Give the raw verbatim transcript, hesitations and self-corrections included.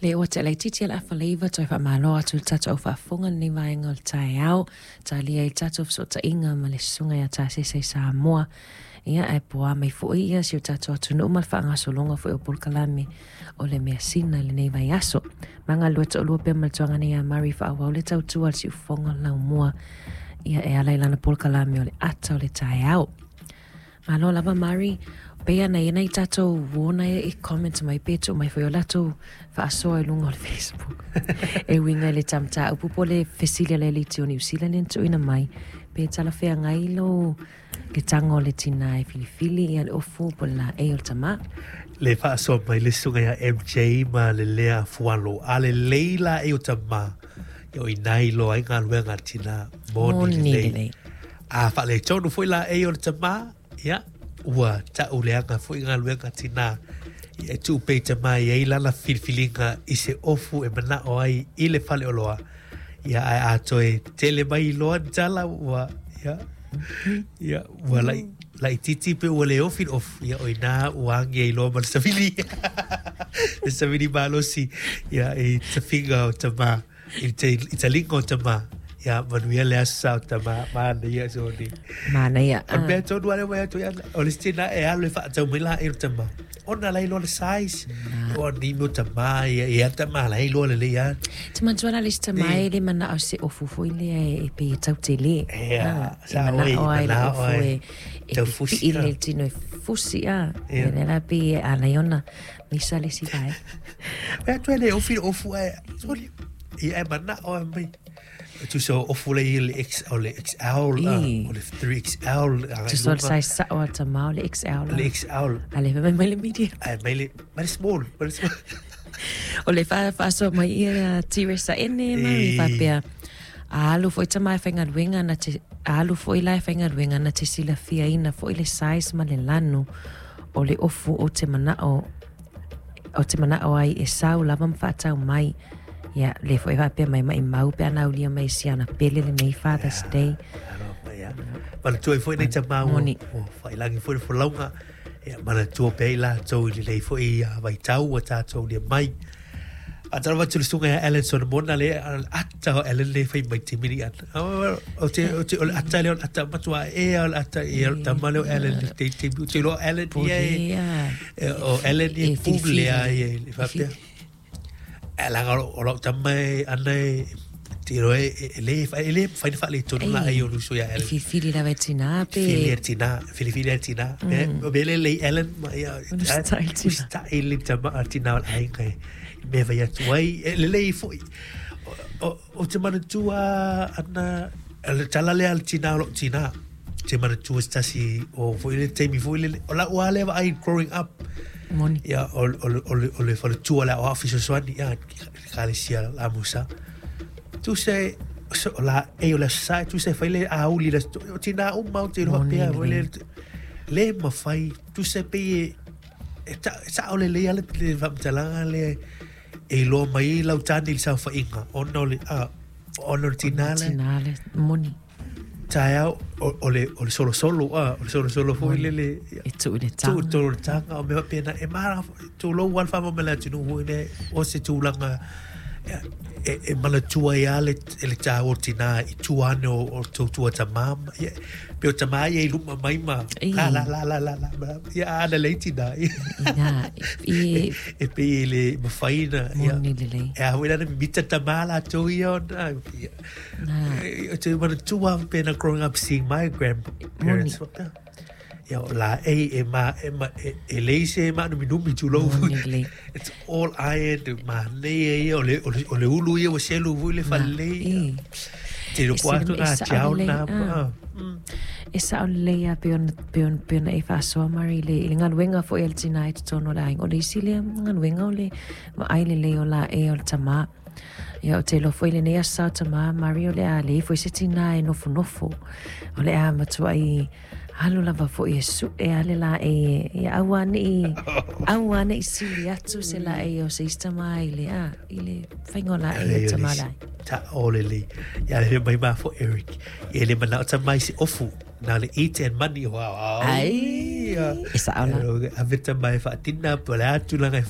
Le ua te laititi ala afaleiva toe whaamalo atu le tatou au faafofoga lenei vaega o le taeao. Talia i le tatou fesootaiga ma le susuga ia Tasese i Samoa. Ia ae poa mai foi ia si o tatou atunuu ma le faagasologa foi o polokalame o le measina i lenei vaiaso. Magalua toalua pea ma le tuagana ia Mari faaauau le tautua a le siufofoga o le laumua. Ia e ala i lana polokalame o le ata o le taeao. Malo lava Mari, pei ana ia nai tatou uona e i comment mai pe tuu mai foi o latou faasoa i luga o le Facebook. E uiga i le mataupu po o le fesili a le aliti o Niu Sila lea na tuuina mai, pe talafeagai lo le tago o le tinā e filifili ia le ofu po o le laei o le tamā. Le faasoa mai le susuga ia M J ma le lea fualo. A lelei laei o tamā, ia o i ina e iloa ai galuega a le tinā moni Moni lelei. A faaletonu foi laei o le tamā, ia, ua ta'u leaga foi galuega tinā. Ia e tuu pea i tamā e iai lana filifiliga i se ofu e mana'o ai i le faleoloa. Ia ae a toe tele mai loa ni tala ua, ia, ia, ua la'i laitiiti pe ua le ofi le ofu, ia o ina ua agi ai loa ma le savili. Le savili malosi, ia, i tafiga o tamā, i te i taliga o tamā. Ia, manuia le aso sa o tamā, manaia soni. Manaia. O le mea tonu lava lea ua atu ai ana, o le isi tinā e alu e faatau mai laei o le tamā. Ona la e iloa le size. O ni mea o tamā, ia, ia tamā la e iloa lelei lava. Te manatua la le isi tamā e le mana'o se ofu foi lea e pei e tautelē. Ia, Ah, e sa oi, mana'o ai le mana'o ofu ai. e e Tau fusi pipii a. le tino e fusi a. Ia. Ia lea la pei e alai ona misa le isi vaega. Mea atu e le ofi le ofu ae, soli, ia e mana'o e mai. Tusa o ofu le i le X, o le X L, ah, I. o le three X L, agai Tusa o le luga. size sa'o a le tamā o le X L la. Le X L. A le fai mai le medium. Ae mai le, mai le small, mai le small. O le fa- faasoa mai ia Tiresa ene Mari I. faapea. A alu foi tamā e faigaluega na te, a alu foi la e faigaluega na te silafiaina foi le size ma le lanu o le ofu o te mana'o o te mana'o ai e sau lava ma faatau mai. Ia, le foi faapea mai maimau pe ana aulia mai si ana pele lenei Father's Ia, Day. alo, ia. Manatua ai foi nei tamā ua- Moni. ua failagi foi le folauga. Ia, manatua pea i latou i lelei foi ia vaitau ua tatou aulia mai. Faatalofa atu le susuga ia Alan Solomona le ata o Alan le fai mai taimi ana. O te, o te, o le ata lea o le ata matua ea o le ata ia o le tama lea o Alan le te taimi. O te iloa Alan ia e, Pule, ia. e, o Alan ia E pule filifili. a ia i le faapea. E laga o lau tama e ana e, te iloa e, e, e le, e le mafai ona faaletonu la ai o le uso ia E Alan. filifili lava e tinā pe. Filifili e tinā, filifili e tinā. Me, me le lei Alan ma ia, O le style tinā. o style le tama a tinā o le aiga e. Mea fai atu ai, e lelei foi. O, o, o te manatua ana, le tala lea a le tinā o lou tinā. Te manatua se tasi o foi le taimi foi lele. O lau lava lea vaai growing up. Moni. Ia, o, o, o, le- o le faletua le aoao fesoasoani, ia, ekalesia la Musa. Tusa e, so, o la, e o le aso Sa, tusa e fai le auli le aso, o tinā uma o te iloa Moni pea, foi le, lelei. le mafai, tusa e pei e, e ta, e sa'o lelei lava le, le faamatalaga lea e iloa mai ai lau tane i le saofaiga, ona o le, a, ona o le tinā lea. Tinā le, moni. Taeao, o, o le, o le solosolo, a, o le solosolo foi lele, ia. E tuu i le Tuu taga. tolu i le taga, o mea faapena, e mara, tulou lava le faamama i le atunuu foi lea, o se tulaga, ia, e, e manatua ai lava le, le tāua o tinā i tua ane o, o tautua tamā ma, ia, pe o tamā ia i luma mai ma, I. la, la, la, la, la, la, la, ia, ana lelei tinā, ia. Ina, i, E pei e le mafai ona, ia. Moni lelei. E a foi lana mimita tamā latou ia ona, ia. Na. E, o te manatua faapena growing up seeing my grandparents. Moni. Ia, o la e, e ma, e ma, e, e leai se maanuminumi tulou. Moni lelei. It's all iron, manaia ia, o le, o le, o le ulu ia ua selu foi le falelei. I. Te E loko sila- atu e na sa'o tiao lelei, na, ah. ah. Mm. E sa'o lelei a pe ona, pe ona, pe ona e faasoa Mari le, i le galuega foi a le tinā i totonu o le aiga. O le isi lea galuega o le vaai lelei o laei o le tamā. Ia o te iloa foi lenei aso sa o tamā Mari o le a leai foi se tinā e nofonofo. O le a matuai alu lava foi e su'e a le laei e, ia aua ne'i, aua ne'i sili atu se laei o se isi tamā i le a, i le faiga o laei o Lelei o tamā le laei. isi. Ta'o lelei. Ia le mai ma fo Eric. Ia le mana'o tamā i se ofu. Na le eat and money. Wow. Ai, Ia. e sa'o la. Ave tamā e faatina po o le a tulaga e